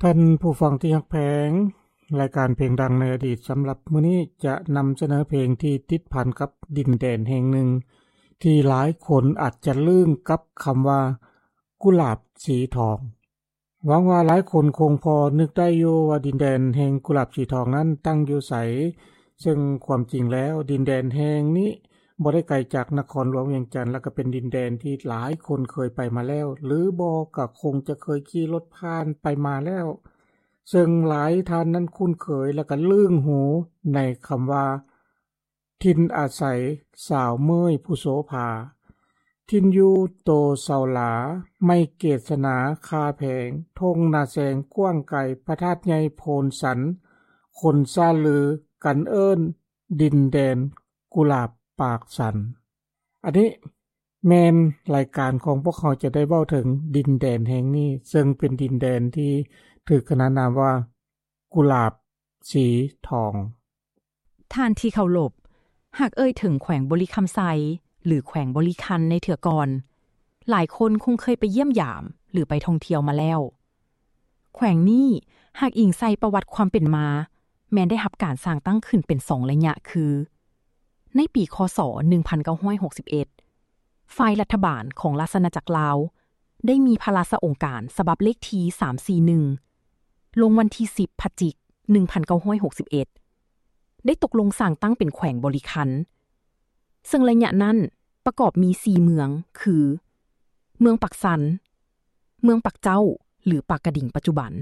ທ່านผู้ฟังที่ฮักแพง รายการเพลงดังในอดีตสำหรับมื้อนี้จะนำเสนอเพลงที่ติดพันกับดินแดนแห่งหนึ่ง ที่หลายคนอาจจะลืมกับคำว่ากุหลาบสีทอง หวังว่าหลายคนคงพอนึกได้อยู่ว่าดินแดนแห่งกุหลาบสีทองนั้นตั้งอยู่ไส ซึ่งความจริงแล้วดินแดนแห่งนี้บ่ได้ไกลจากนครหลวงเวียงจันทน์ และก็เป็นดินแดนที่หลายคนเคยไปมาแล้ว หรือบ่ก็คงจะเคยขี่รถผ่านไปมาแล้ว ซึ่งหลายท่านนั้นคุ้นเคยและก็ลึ่งหูในคำว่า ถิ่นอาศัยสาวเมื่อยผู้โสภา ถิ่นอยู่โตเสาหลา ไม้เกศนา คาแพง ท่งนาแซงกว้างไกล พระธาตุใหญ่โพนสัน คนซ่าลือกันเอิ้น ดินแดนกุหลาบปากสัน อันนี้แม่นรายการของพวกเขาจะได้เว้าถึงดินแดนแห่งนี้ ซึ่งเป็นดินแดนที่ถืกขนานนามว่ากุหลาบสีทอง ທ່ານທີ່ເຄົາລົບ, ຫາກເອີ່ຍເຖິງແຂວງບໍລິຄຳໄຊ ຫຼື ແຂວງບໍລິຄັນໃນເທື່ອກ່ອນ, ຫຼາຍຄົນຄົງເຄີຍໄປຢ້ຽມຢາມ ຫຼື ໄປທ່ອງທ່ຽວມາແລ້ວ. ແຂວງນີ້ຫາກອີງໃສ່ປະຫວັດຄວາມເປັນມາ, ແມ່ນໄດ້ຮັບການສ້າງຕັ້ງຂຶ້ນເປັນສອງໄລຍະຄື ໃນປີ ຄ.ສ. ໜຶ່ງພັນເກົ້າຮ້ອຍຫົກສິບເອັດ ຝ່າຍລັດຖະບານຂອງລາຊະອານາຈັກລາວ ໄດ້ມີພະລາຊະອົງການສະບັບເລກທີສາມສີ່ໜຶ່ງ ລົງວັນທີສິບ ພະຈິກ ໜຶ່ງພັນເກົ້າຮ້ອຍຫົກສິບເອັດ ໄດ້ຕົກລົງສ້າງຕັ້ງເປັນແຂວງບໍລິຄັນ ເຊິ່ງໄລຍະນັ້ນປະກອບມີສີ່ເມືອງຄື ເມືອງປາກຊັນ, ເມືອງປາກເຈົ້າ ຫຼື ປາກກະດິງປັດຈຸບັນ,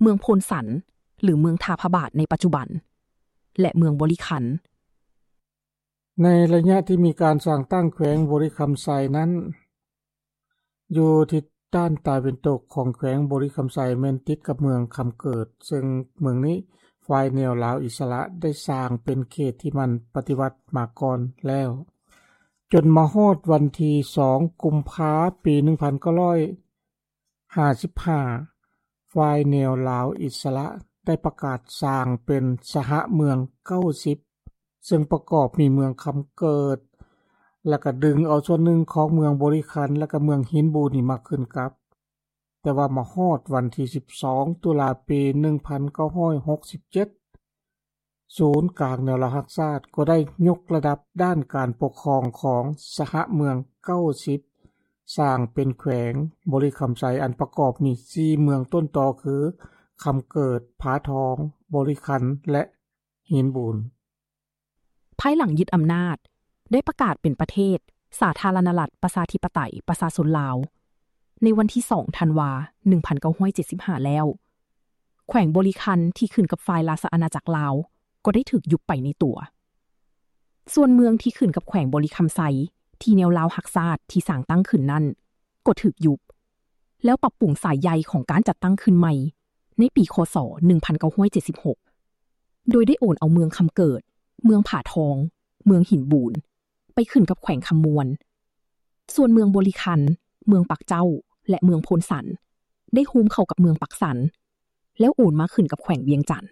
ເມືອງໂພນສັນ ຫຼື ເມືອງທ່າພະບາດໃນປັດຈຸບັນ ແລະ ເມືອງບໍລິຄັນ. ໃນໄລຍະທີ່ມີການສ້າງຕັ້ງແຂວງບໍລິຄຳໄຊນັ້ນ ຢູ່ທິດດ້ານຕາເວັນຕົກຂອງແຂວງບໍລິຄຳໄຊແມ່ນຕິດກັບເມືອງຄຳເກີດ, ເຊິ່ງເມືອງນີ້ຝ່າຍແນວລາວອິດສະຫຼະໄດ້ສ້າງເປັນເຂດທີ່ມັນປະຕິວັດມາກ່ອນແລ້ວ. ຈົນມາຮອດວັນທີສອງ ກຸມພາ ປີໜຶ່ງພັນເກົ້າຮ້ອຍຫ້າສິບຫ້າ ຝ່າຍແນວລາວອິດສະຫຼະໄດ້ປະກາດສ້າງເປັນສະຫະເມືອງເກົ້າສິບ ເຊິ່ງປະກອບມີເມືອງຄຳເກີດ ແລະກະດຶງເອົາສ່ວນໜຶ່ງຂອງເມືອງບໍລິຄັນ ແລະກະເມືອງຫີນບູນນີ້ມາຂຶ້ນກັບ. ແຕ່ວ່າມາຮອດວັນທີສິບສອງ ຕຸລາ ປີໜຶ່ງພັນເກົ້າຮ້ອຍຫົກສິບເຈັດ ສູນກາງແນວລາວຮັກຊາດກໍໄດ້ຍົກລະດັບດ້ານການປົກຄອງຂອງສະຫະເມືອງເກົ້າສິບ ສ້າງເປັນແຂວງບໍລິຄຳໄຊ ອັນປະກອບມີສີ່ເມືອງຕົ້ນຕໍຄື ຄຳເກີດ, ຜາທອງ, ບໍລິຄັນ ແລະ ຫີນບູນ. ພາຍຫຼັງຍຶດອຳນາດ ໄດ້ປະກາດເປັນປະເທດສາທາລະນະລັດ ປະຊາທິປະໄຕ ປະຊາຊົນລາວ ໃນວັນທີສອງ ທັນວາ ໜຶ່ງພັນເກົ້າຮ້ອຍເຈັດສິບຫ້າ ແລ້ວ, ແຂວງບໍລິຄັນທີ່ຂຶ້ນກັບຝ່າຍລາຊະອານາຈັກລາວ ກໍໄດ້ຖືກຍຸບໄປໃນຕົວ. ສ່ວນເມືອງທີ່ຂຶ້ນກັບແຂວງບໍລິຄຳໄຊ ທີ່ແນວລາວຮັກຊາດທີ່ສ້າງຕັ້ງຂຶ້ນນັ້ນ ກໍຖືກຍຸບ ແລ້ວປັບປຸງສາຍໃຍຂອງການຈັດຕັ້ງຂຶ້ນໃໝ່ ໃນປີ ຄ.ສ. ໜຶ່ງພັນເກົ້າຮ້ອຍເຈັດສິບຫົກ ໂດຍໄດ້ໂອນເອົາເມືອງຄຳເກີດ, ເມືອງຜາທອງ, ເມືອງຫີນບູນ ໄປຂຶ້ນກັບແຂວງຄຳມ່ວນ. ສ່ວນເມືອງບໍລິຄັນ, ເມືອງປາກເຈົ້າ ແລະ ເມືອງໂພນສັນ ໄດ້ໂຮມເຂົ້າກັບເມືອງປາກຊັນ ແລ້ວໂອນມາຂຶ້ນກັບແຂວງວຽງຈັນ.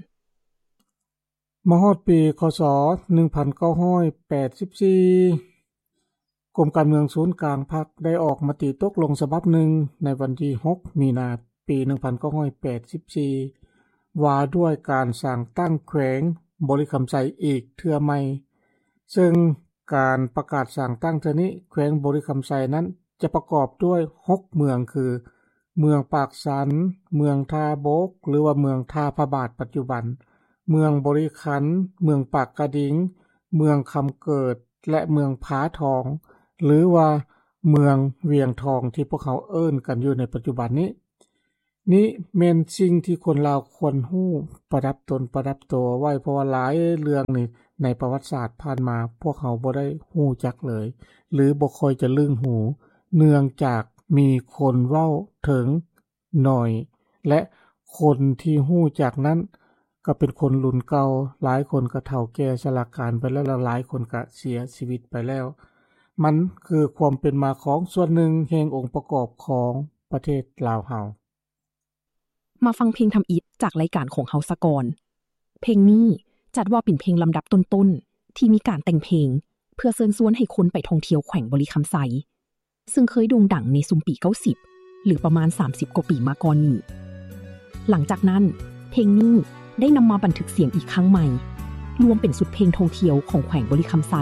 ມາຮອດປີ ຄ.ສ. ໜຶ່ງພັນເກົ້າຮ້ອຍແປດສິບສີ່ ກົມການເມືອງສູນກາງພັກໄດ້ອອກມະຕິຕົກລົງສະບັບໜຶ່ງ ໃນວັນທີຫົກ ມີນາ ປີໜຶ່ງພັນເກົ້າຮ້ອຍແປດສິບສີ່ ວ່າດ້ວຍການສ້າງຕັ້ງແຂວງບໍລິຄຳໄຊອີກເທື່ອໃໝ່, ເຊິ່ງການປະກາດສ້າງຕັ້ງເທື່ອນີ້ ແຂວງບໍລິຄຳໄຊນັ້ນຈະປະກອບດ້ວຍຫົກເມືອງຄື ເມືອງປາກຊັນ, ເມືອງທ່າບົກ ຫຼືວ່າເມືອງທ່າພະບາດປັດຈຸບັນ, ເມືອງບໍລິຄັນ, ເມືອງປາກກະດິງ, ເມືອງຄຳເກີດ ແລະ ເມືອງຜາທອງ ຫຼືວ່າເມືອງວຽງທອງ ທີ່ພວກເຮົາເອີ້ນກັນຢູ່ໃນປັດຈຸບັນນີ້. ນີ້ແມ່ນສິ່ງທີ່ຄົນລາວຄວນຮູ້ ປະດັບຕົນປະດັບຕົວໄວ້, ເພາະວ່າຫຼາຍເລື່ອງນີ້ໃນປະຫວັດສາດຜ່ານມາ ພວກເຮົາບໍ່ໄດ້ຮູ້ຈັກເລີຍ ຫຼືບໍ່ຄ່ອຍຈະລຶ້ງຫູ ເນື່ອງຈາກມີຄົນເວົ້າເຖິງໜ້ອຍ ແລະ ຄົນທີ່ຮູ້ຈັກນັ້ນກໍເປັນຄົນລຸ້ນເກົ່າ, ຫຼາຍຄົນກໍເຖົ້າແກ່ຊະລາການໄປແລ້ວ ແລະ ຫຼາຍຄົນກໍເສຍຊີວິດໄປແລ້ວ. ມັນຄືຄວາມເປັນມາຂອງສ່ວນໜຶ່ງແຫ່ງອົງປະກອບຂອງປະເທດລາວເຮົາ. ມາຟັງເພງທຳອິດຈາກລາຍການຂອງເຮົາສາກ່ອນ. ເພງນີ້ຈັດວ່າເປັນເພງລຳດັບຕົ້ນໆ ທີ່ມີການແຕ່ງເພງ ເພື່ອເຊີນຊວນໃຫ້ຄົນໄປທ່ອງທ່ຽວແຂວງບໍລິຄຳໄຊ, ເຊິ່ງເຄີຍໂດ່ງດັງໃນຊຸມປີເກົ້າສິບ ຫຼືປະມານສາມສິບກວ່າປີມາກ່ອນນີ້. ຫຼັງຈາກນັ້ນ ເພງນີ້ໄດ້ນຳມາບັນທຶກສຽງອີກຄັ້ງໃໝ່ ລວມເປັນຊຸດເພງທ່ອງທ່ຽວຂອງແຂວງບໍລິຄຳໄຊ.